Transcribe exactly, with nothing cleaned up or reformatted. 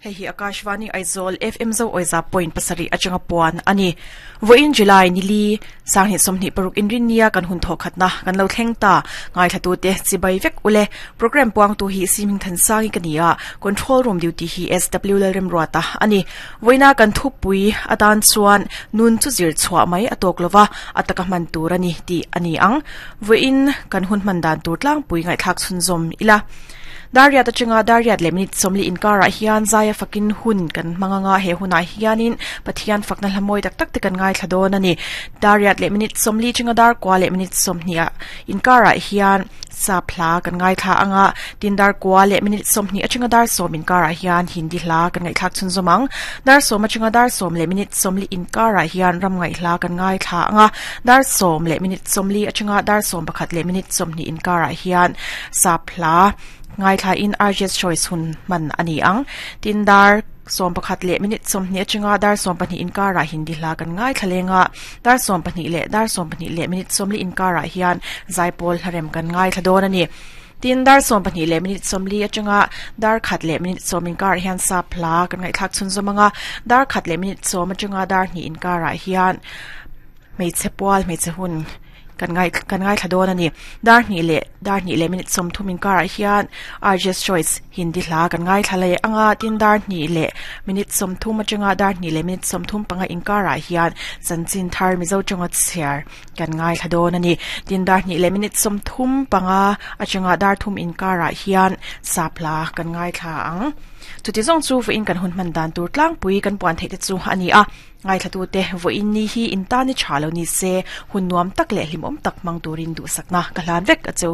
Hei hi Akashvani Aizawl F M zo oiza point pasari atanga puan ani voin July nili sanghi somni paruk inrinia kan hun thokhatna kan lo thleng ta ngai thatu te chibai vek ule program puang tu hi siming than sangi kania control room duty hi S W L rem ruata ani voina kan thupui atan chuan nun chu zir chhuwa mai atok lova ataka man tur ani ti ani ang voin kan hun man dan tur tlang pui ngai thak chun zom ila Daria ta chunga Daria le minute somli inkara hian zaya fakin hun kan manganga he huna hianin Pathian fakna hlamoi tak tak te kan ngai thladon ani Daria le minute somli chunga dar kwa le minute somhnia inkara hian sa phla kan ngai thla anga tindar kwa le minute somhni achunga dar som inkara hian Hindi hla kan ngai thak chun zomang dar som achunga dar som le minute somli inkara hian ram ngai hla kan ngai thla anga dar som le minute somli achunga dar som pakhat le minute somhni inkara hian sa phla ngai thla in R J choice hun man ani ang tindar som pakhat le minute som ni chunga dar som pahnih inkara Hindi hla kan ngai thlalenga dar som pahnih le dar som pahnih le minute som li inkara hian zaipol harem kan ngai thladon ani tin dar som pahnih le minute som li achunga dar khat le minute som inkar hian sa phla kan ngai thak chun zomanga dar khat le minute som achunga dar ni inkara hian meiche pwal meiche hun kan ngai kan ngai thladon ani dar ni le dar ni le minute som thumin kar hian R J choice Hindi hla kan ngai thlale anga tin dar ni le minute som thum achanga dar ni le minute som thum panga inkara hian chanchin thar mizo chunga chhiar kan ngai thladon ani tin dar ni le minute som thum panga achanga dar thum inkara hian sapla kan ngai thla ang chuti zong chu fu in kan hun man dan tur tlang pui kan puan thei te chu ani a ngai thlatu te vo in ni hi in ta ni thalo ni se hun nuam tak le hlimom tak mang turin du sakna ka hlan vek a chu.